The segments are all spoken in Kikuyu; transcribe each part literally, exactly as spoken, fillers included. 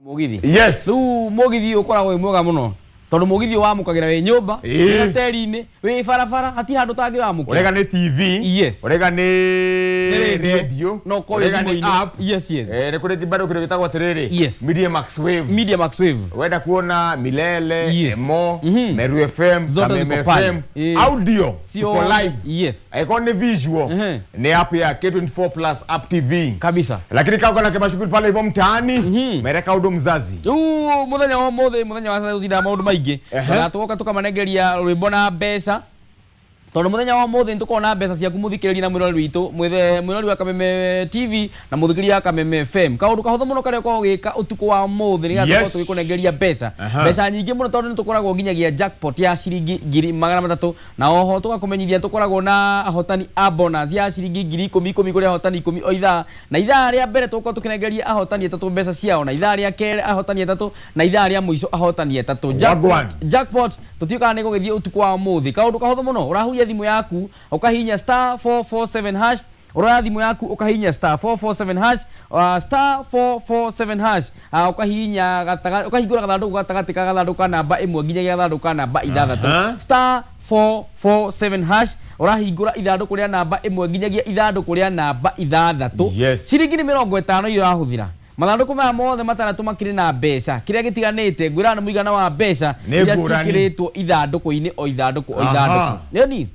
Mugithi. Yes. Riu mugithi ukoragwo wi mwega muno. Tondu mugithi wamukagira wi nyumba, wi hoteli-ini, wi barabara, hati handu tangiwamukira. Urega ni T V. Yes. Urega ni radio. No ko urega ni app. Yes, yes. Eh, kuri bado kiri gitagwo atiriri. Yes. Media Max Wave. Media Max Wave. Wenda kuona Milele, yes. Emo, mm -hmm. Meru F M, Kameme F M, audio, tuko live. Yes. Iko ni visual. Mm -hmm. Ni app ya K twenty-four Plus App T V. Kabisa. Lakini kama kana kemashughuli pale hivyo mtaani, mm -hmm. mereka udo mzazi. Uu, muthenya wa muthe, muthenya wa tutinda maundu maingi. Na tugoka tukamanengeria rwimbo na mbeca. Tondu muthenya wa muthe nitukorwo mbeca ciaku muthikiriria na mwirori witu, mwithe mwirori wa Kameme T V na muthikiriria wa Kameme F M. Kaundu kahuthu muno karia ukoragwo ugika utuku wa muthe nigetha tukorwo tugikunengeria mbeca. Mbeca nyingi muno tondu nitukoragwo nginyagia jackpot ya ciringi ngiri magana matatu na oho tugakumenyithia tukoragwo na ahotani a bonus ya ciringi ngiri ikumi ikumi kuri ahotani ikumi o ithaa, na ithaa ria mbere tukorwo tukinengeria ahotani atatu mbeca ciao, na ithaa ria keri ahotani atatu, na ithaa ria muico ahotani atatu. Jackpot, jackpot tutiukaga ni gugithie utuku wa muthi. Kaundu kahuthu muno urahuria thimu yaku ukahinya star four four seven hash, uroya thimu yaku ukahinya star four four seven hash, uh, star four four seven hash, uh, ukahinya gataga ukahingura gathanduku gatagati ka gathanduku ka namba imwe nginyagia gathanduku ka namba ithathatu. Star four four seven hash urahingura ithanduku ria namba imwe nginyagia ithanduku ria namba ithathatu. Yes. Ciringi ni mirongo itano irahuthira. Mathandũkũ maya mothe matandatũ makĩrĩ na mbeca kĩrĩa gĩtiganĩte ngwĩra nĩ mũigana wa mbeca iria ciĩkĩrĩtwo ithandũkũ-inĩ o ithandũkũ o ithandũkũ. Nĩoni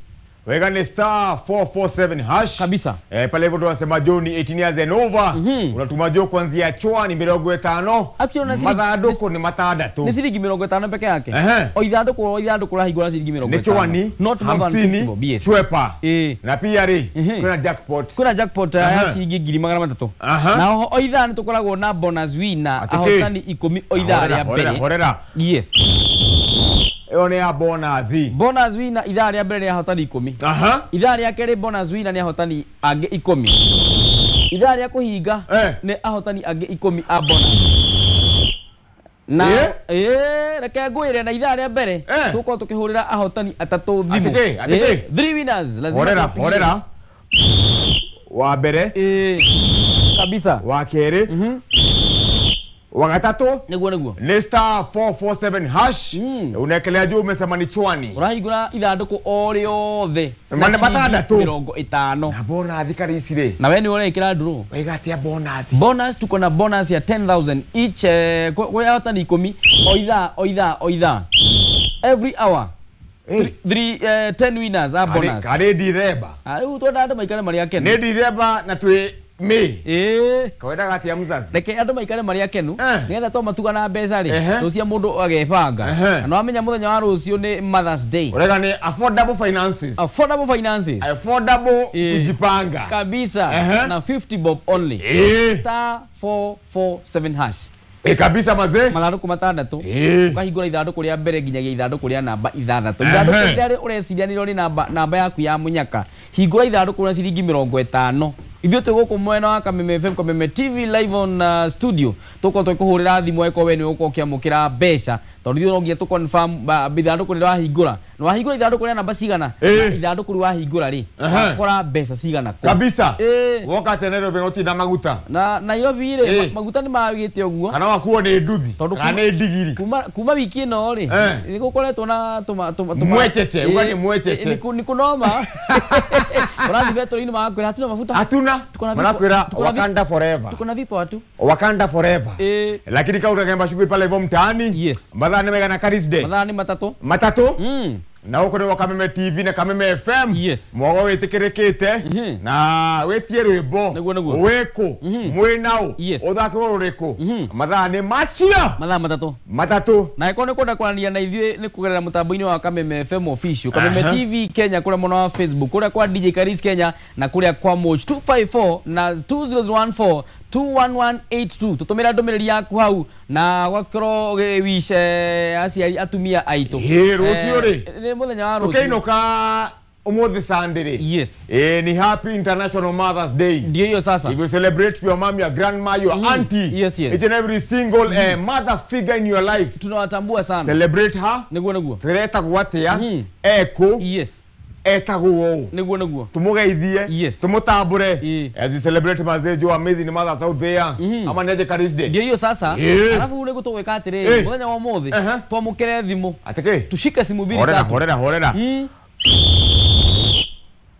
wega ni star four four seven hash kabisa. Eh, pale hivyo tunasema John eighteen years and over. Mm -hmm. Unatuma jo kuanzia chwa ni mirongo itano. Mathandũkũ ni matandatu. Ni ciringi mirongo itano peke yake. O ithandũkũ o ithandũkũ rahingũra ciringi mirongo itano. Ni chwani not more than fifty. Yes. Chwepa. Eh. Na pia ri kuna jackpot. Kuna jackpot ya ciringi ngiri magana matatu. Na o ithaa ni tukoragwo na bonus winner ahotani ikumi o ithaa ria mbere. Horera. Yes. Iyo ni ya bonus. Bonus winner ithaa ria mbere ni ahotani ikumi. Aha. Ithaa ria keri bonus winner ni ahotani angĩ ikumi. Ithaa ria kuhinga eh. ni ahotani angĩ ikumi a bonus. Na eh, eh reke ngwire na ithaa ria mbere eh. tukorwo tukihurira ahotani atatu thimu. Atike, atike. Eh, three winners lazima. Horera, horera. Wa mbere. Eh. Kabisa. Wa keri. Mhm. Wagatatu niguo niguo ni star four four seven hash. Mm. Unekelea juu umesema ni chwani urahingura ithandũkũ o rĩothe na matandatu mirongo itano na bonus kari ici ri na we ni urekira nduru waiga atia bonus bonus tuko na bonus ya ten thousand each eh, kwa ahotani ikumi o ithaa o ithaa o ithaa every hour. Hey. Three, uh, ten winners are bonus. Kari Dithemba. Riu twenda andu maikare mari akenu. Ni Dithemba na twi me. Eh. Kawendaga atia mzazi? Reke andu maikare mari akenu. Eh. Nigetha to matuga na mbeca ri. Eh. Rucia mundu agebanga. Eh. Na wamenya muthenya wa rucio ni Mother's Day. Urega ni affordable finances. Affordable finances. Affordable eh. kujipanga. Kabisa. Eh. Na fifty bob only. Eh. Star four four seven hash. E kabisa mazee. Mathandũkũ matandatũ. Ukahingũra ithandũkũ rĩa mbere nginyagia ithandũkũ rĩa namba ithathatũ. Ithandũkũ rĩrĩa ũreciria nĩrĩo nĩ namba namba yaku ya mũnyaka. Hingũra ithandũkũ rĩa ciringi mĩrongo ĩtano. Ithuĩ twĩ gũkũ mwena wa Kameme F M, Kameme T V live on uh, studio. Tũkorwo tũkĩhũrĩra thimũ angĩkorwo we nĩ ũgũkorwo ũkĩamũkĩra mbeca. Tondũ ithuĩ no nginya tũ confirm ithandũkũ rĩrĩa wahingũra. Na wahingũra ithandũkũ rĩa namba cigana? Na ithandũkũ rĩu wahingũra rĩ, wakora mbeca cigana kũ? Kabisa. Eh. Woka tene Nairobi gũtinda maguta. Na Nairobi rĩ, maguta nĩ magĩte ũguo. Kana wakuo nĩ nduthi. Kana nĩ ndigiri. Kuma kuma wiki ĩno rĩ, nĩ gũkoretwo na tũma tũma mwecheche, uga nĩ mwecheche. Nĩ kũnoma. Ũrathiĩ betũrũ-inĩ magakwĩra hatuna mafuta. Hatuna. Manakwira Wakanda forever. Tuko na vipo watu. Wakanda forever. Eh. Lakini kau utakemba shughuli pale hivyo mtaani. Yes. Mathaa ni megana Karis Day. Mathaa ni matatu. Matatu? Mm. Na huko ni Kameme T V na Kameme F M. Yes. Mwago witikirekete mm -hmm. na witie rwimbo. Niguo niguo. Wiku. Mm -hmm. Mwinau. Yes. Uthake ruriku. Mm -hmm. Mathaa ni macio. Mathaa matatu. Matatu. Na iko ni kwenda kwarania na ithuĩ ni kugerera mutambo-inĩ wa Kameme F M official, Kameme uh -huh. T V Kenya kũrĩa mwena wa Facebook, kũrĩa kwa D J Karis Kenya na kũrĩa kwa Moch two five four na two zero one four two one one eight two. Tutumira ndũmĩrĩri yaku hau na gwakorwo ũgĩwish aciari atumia aitũ. Ĩ rũciũ rĩ. Nĩ mũthenya wa rũciũ. Tũkĩinũka umuthi Sunday rĩ. Yes. Eh, ni happy International Mother's Day. Ndio hiyo sasa. If you celebrate your mom, your grandma, your mm. auntie. Yes, yes. Each and every single mm. eh, mother figure in your life. Tunawatambua sana. Celebrate her. Niguo niguo. Tureta gwatia. Mm. Eko. Yes. Etagwo ũũ. Nĩguo nĩguo. Tumugeithie. Yes. Tumutambure. Ĩĩ. As we celebrate mazee jo amazing mothers out there. Ama neje Karis Day. Ndio hiyo sasa. Ĩĩ. Alafu nĩguo tũgwĩka atĩrĩrĩ, Ĩĩ. mũthenya wa ũmũthĩ Ehe. twamũkĩre thimũ. Atĩkĩ? Tushike simu mbili Horera tatu. horera horera. Mm.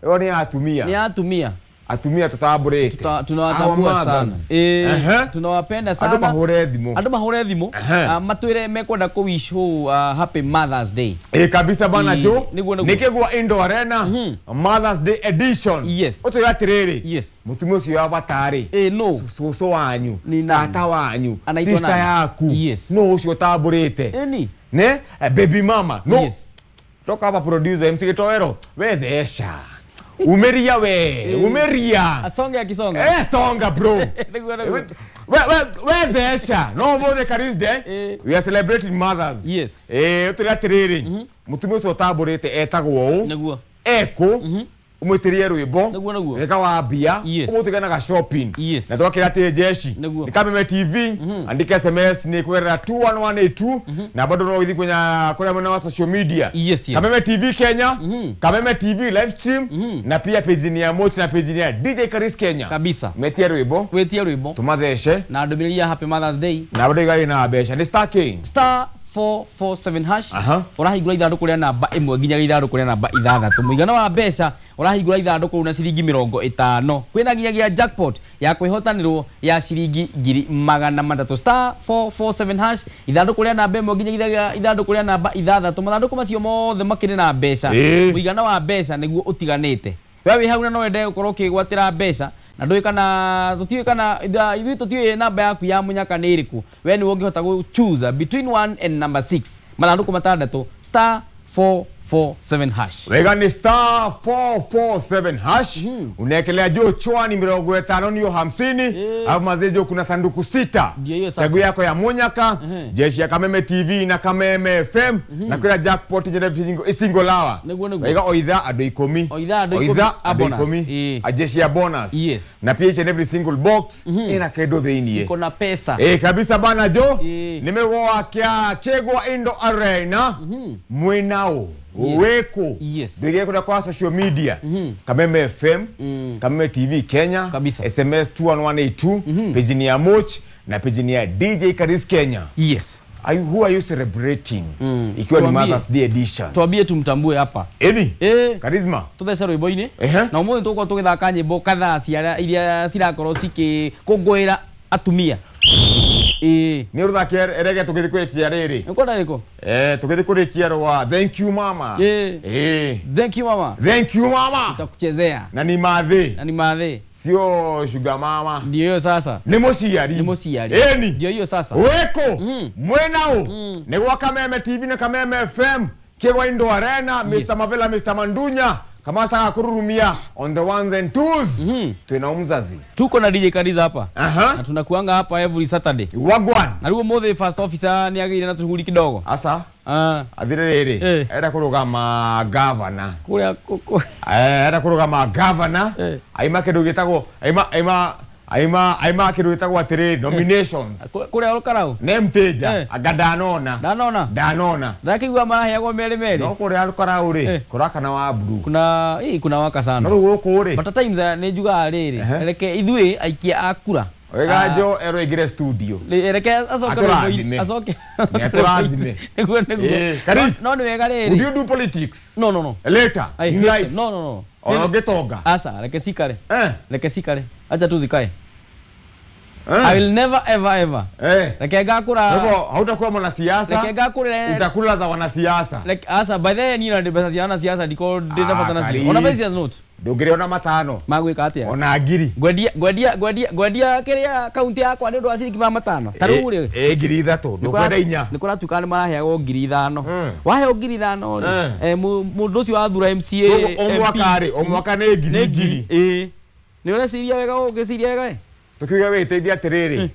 Ĩyo nĩ ya atumia. Ni ya atumia. Atumia tutambũrĩte. Tuta- tunawatambua Our sana. mothers. Eh, Ehe. tunawapenda sana. Andũ mahũre thimũ. Andũ mahũre thimũ. Ehe. Ah, matwĩre mekwenda kũ wish uh, happy Mother's Day. Ĩ kabisa bana Ĩ, jo. nĩguo, nĩguo. Nĩ kĩgwa Indo Arena Mother's Day edition. Yes. Ũtwĩre atĩrĩrĩ. Yes. Mũtumia ũcio wa batarĩ. Eh, no. Cũcũ wanyu. Ni nani? Tata wanyu. Anaitwa Sister nani? yaku. Yes. No ũcio ũtambũrĩte. Ĩni. Ne? Eh, baby mama. No. Yes. Toka hapa producer M C Gitoero. We thesha. Umeria we. Umeria. Asonge akisonga. Eh songa bro. Nĩguo, nĩguo. We we we thesha. No more Karis Day. Eh. We are celebrating mothers. Yes. Eh ũtwĩre atĩrĩrĩ. Mũtumia ũcio ũtambũrĩte etagwo ũũ. Nĩguo. Eko. Umwĩtĩrie rwĩmbo. Nĩguo, nĩguo. Wega wa mbia. Yes. Ũmũtũganaga shopping. Yes. Na twakĩra atĩ jeshi. Nĩguo. Nĩ Kameme T V. Andika S M S nĩ kũgerera two one one eight two. Na bado no ũgĩthiĩ kwenye kũrĩa mwena wa social media. Yes, yes. Kameme T V Kenya. Kameme T V live stream. Na pia page ni ya Mochi na page ni ya D J Karis Kenya. Kabisa. Metie rwĩmbo. Wĩtie rwĩmbo. Tũmathece. Na ndũmĩrĩri ya happy Mother's Day. Na bado igarĩ na mbeca. Nĩ Star King. Star four four seven hash. Aha. Ũrahingũra ithandũkũ rĩa namba ĩmwe nginya ithandũkũ rĩa namba ithathatũ. Mũigana wa mbeca ũrahingũra ithandũkũ rĩu na ciringi mĩrongo ĩtano. Kwĩna nginyagia jackpot ya kwĩhotanĩrwo ya ciringi ngiri magana matatũ. Star four four seven hash ithandũkũ rĩa namba ĩmwe nginya ithandũkũ rĩa namba ithathatũ. Mathandũkũ macio mothe makĩrĩ na mbeca. Ĩĩ. Mũigana wa mbeca nĩguo ũtiganĩte. We wĩ hau na no wende gũkorwo ũkĩgwatĩra mbeca na ndũĩ kana tũtiũĩ kana ithuĩ tũtiũĩ namba yaku ya mũnyaka nĩ ĩrĩkũ. We nĩwe ũngĩhota gũ choose between one and number six. Mathandũkũ matandatũ star four four seven hash. Wega ni star four four seven hash. Unaekelea juu chwani mĩrongo ĩtano niyo hamsini. Alafu mazee juu kuna sanduku sita. Ndio hiyo sasa. Chaguo yako ya munyaka, jeshi ya Kameme T V na Kameme F M na kuna jackpot njene single lawa. Nĩguo, nĩguo. Wega oitha andũ ikũmi. Oitha andũ ikũmi Oitha a andũ bonus. ikũmi. Ĩĩ. A jeshi ya bonus. Yes. Na pia each and every single box ina kĩndũ thĩiniĩ. Iko na pesa. Eh kabisa bana jo. Ĩĩ. Nimegwa kya Kĩgwa Indo Arena. Mwinao. Weko. Yes. Ndege kuna kwa social media. Kameme F M, Kameme T V Kenya, Kabisa. S M S two one one eight two, page ni ya Moch na page ni ya D J Karis Kenya. Yes. Are you, who are you celebrating? Ikiwa ni Tuambie. Mother's Day edition. Tuambie tumtambue hapa. Eni? Eh. Karisma. Tuthece rwĩmbo-inĩ. Ehe. Na ũmũthĩ tũgũkorwo tũgĩthaka nyĩmbo kadhaa cia iria cirakorwo cikĩkũngũĩra atumia. Ĩĩ. Nĩ ũrũthake rege tũgĩthiĩ kũrĩkia rĩrĩ. Nĩũkwenda rĩkũ? Eh, tũgĩthiĩ kũrĩkia rwa Thank you mama. Ĩĩ. Eh. Thank you mama. Thank you mama. Tutakuchezea. Na ni mathĩ. Na ni mathĩ. Sio sugar mama. Ndio hiyo sasa. Nĩ mũciari. Nĩ mũciari. Eni. Ndio hiyo sasa. Weko. Mwenao. Nĩ gwa Kameme T V na Kameme F M. Kĩgwa Indo Arena, Yes. Mister Mavela, Mister Mandunya. Kamasa kururumia on the ones and twos. Twina umzazi. Tuko na D J Kariza hapa. Aha. Na tunakuanga hapa every Saturday. Wagwan. Na rĩu ũmũthĩ first officer nĩ agĩire na tũcuguri kidogo. Asa. Ah. Athire rĩrĩ. Eh. Enda kũrũgama governor. Kũrĩa kũ Eh, enda kũrũgama governor. Eh. Aima kĩndũ gĩtagwo aima aima aima aima kĩndũ gĩtagwo atĩrĩ nominations. Kũrĩa Olkarau. Nĩ mteja. Eh. Anga ndanona. Ndanona. Ndanona. Ndakĩigua maraheagwo merĩ merĩ. No kũrĩa Olkarau rĩ, Eh. kũrakana wa blue. Kuna ii kuna waka No sana. rĩu gũkũ rĩ. But at times eh, nĩ njugaga rĩrĩ. Ehe. Reke ithuĩ aikia a kura. Wega jo ero ingire studio. Reke acoke Atũrathime. rwĩmbo-inĩ- acoke. Nĩ atũrathime. Nĩguo nĩguo. Eh, Karis. No nĩ wega Would rĩrĩ. you do politics? No no no. Later I in hate life. them. No no no. Ona ũngĩtonga. Asa, reke cikare. Eh. Reke cikare. Acha tu zikae. Eh. I will never ever ever. Eh. Reke ngakũra. Kwa hivyo hautakuwa mwanasiasa. Reke ngakũre. Utakula za wanasiasa. Like asa by the way niĩ na mbeca cia wanasiasa ndiko ndĩna bata nacio. Karis. Ona mbeca cia note. Ndũngĩrĩ matano. Magwĩka atĩa? Ona ngiri. Ngwendia ngwendia ngwendia ngwendia kĩrĩa kaunti yakwa nĩ ũndũ wa ciringi magana matano. Ta rĩu rĩ. Eh ngiri ithatũ. Ndũkwenda inya. Nĩ kũratuĩka nĩ maraheagwo ngiri ithano. Mm. Waheo ngiri ithano rĩ. Mm. Eh, mũndũ ũcio wathura M C A. Koguo o mwaka rĩ, o mwaka nĩ ngiri ngiri. Ĩĩ. Nĩ ũreciria wega ũngĩciria wega ĩ? Tukiuga wĩteithie atĩrĩrĩ.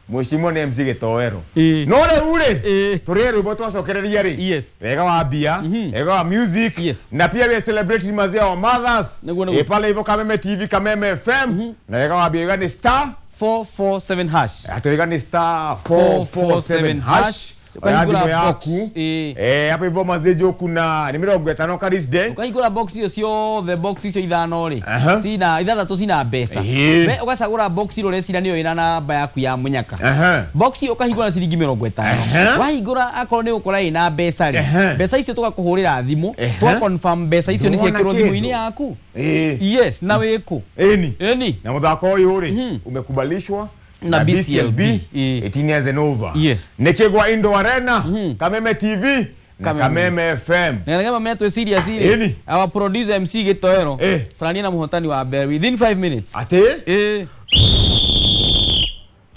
Mheshimiwa nĩ M C Gĩtoero. Ĩĩ. No rĩu rĩ, Ĩĩ. tũrĩe rwĩmbo twacokereria rĩ. Yes. Wega wa mbia, wega wa music. Yes. Na pia we celebrating mazee wa mothers. Nĩguo, nĩguo. Eh, pale hivyo Kameme T V, Kameme F M. Na wega wa mbia wega ni star four four seven hash. Ati wega ni star four four seven hash. Oya Ũkahingũra thimũ box, yaku. ĩĩ. Eh, hapo hivyo mazejo kuna ni mĩrongo ĩtano Karis Day. Ũkahingũra box icio ciothe, box icio ithano rĩ, Aha. cina ithathatũ cina mbeca. Ĩĩ. We ũgacagũra box ĩrĩa ũreciria nĩyo ĩna namba yaku ya mũnyaka. Aha. Box ĩyo ũkahingũra na ciringi mĩrongo ĩtano. Aha. Wahingũra akorwo nĩ ũgũkora ĩna mbeca rĩ, Aha. mbeca icio tũgakũhũrĩra thimũ, Aha. tũga confirm mbeca icio nĩ Ndũrona ciekĩrwo thimũ-inĩ kĩndũ. yaku. Eh. Yes, na wĩkũ. Eni. Ĩni. Na mũthako ũyũ rĩ umekubalishwa Na B C L B, ĩĩ. eighteen years and over. Yes. Nĩkĩgwa Indo Arena, Kameme T V na Kameme. Kameme F M. Nĩgetha mamenye twĩ serious rĩ, Ĩni. our producer M C Gĩtoero Eh. carania na mũhotani wa mbere within five minutes. Ati Ĩĩ.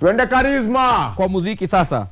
twende Charisma. Kwa muziki sasa.